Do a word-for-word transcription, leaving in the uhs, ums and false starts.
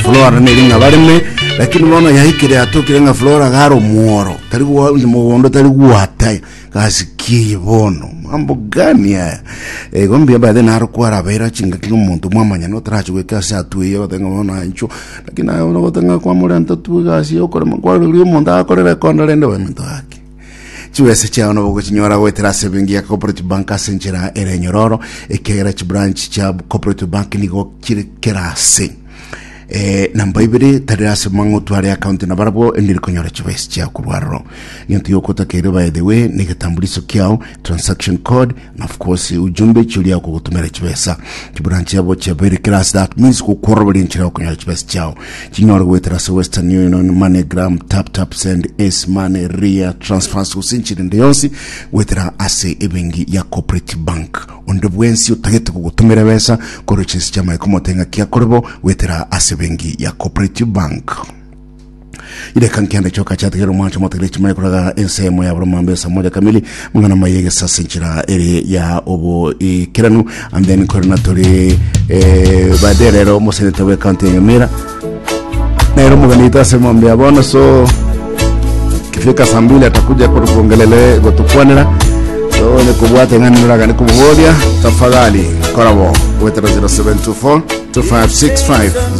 Flora neri ng'a bareme, lakini bono yaikire yatokire ng'a Flora garo omworo tari gwa- mogondo tari gwata gasi ki. Bono mambo gani aya? Igo mbuya baethe naro kwarabeira chingaki na omonto mwamanya notarachi goika ase atweye gotenga bono ancho, lakini aye bono gotenga kwamorenta tu egasi yokorema kwaroria omonto akorera ekondo rende baminto gaki. Chibesa chiao nabo gochinyora goetera ase ebenki ya Cooperative Bank ase enchera ere enyororo, ekiagera chibranch chia Cooperative Bank nigo chire kera ase. Eh, namba ibere tari ase mang'otu are account na barabwo endiri konyora chibesa chiao korwa aroro. Egento giokotakeire, by the way, ni egetambulisho kiao, transaction code na of course ujumbe chiria okogotumera chibesa. Chibranch yabo chiabeire kera ase, that means gokworoberia enchera okonyora chibesa chiao. Chinyore goetera ase Western Union, MoneyGram, Tap Tap Send, S Money, Ria transfers gose enchera ende yonsi goetera ase ebenki ya Cooperative Bank. Onde bwensi otagete kogotumera besa korwa chinsi chiamaiko motenga kiakorebo goetera ase benki ya Cooperative Bank. Ireka nkianda choka chategera omwancho motegere chimanye koraga ensemo ya buromambe saa moja kamili mang'ana maye gesase enchera ere ya obo ikeranu. And then korena tori eh, baadaye rero omoseneta bwe county ya Nyamira nero omoganito ase mombe ya bono. So kifika saa mbili atakuja kutuongelele gotukwanera, so nikubwate ng'ani nuraga nikububoria tafadhali korabo wetera zero seven two four two five six five.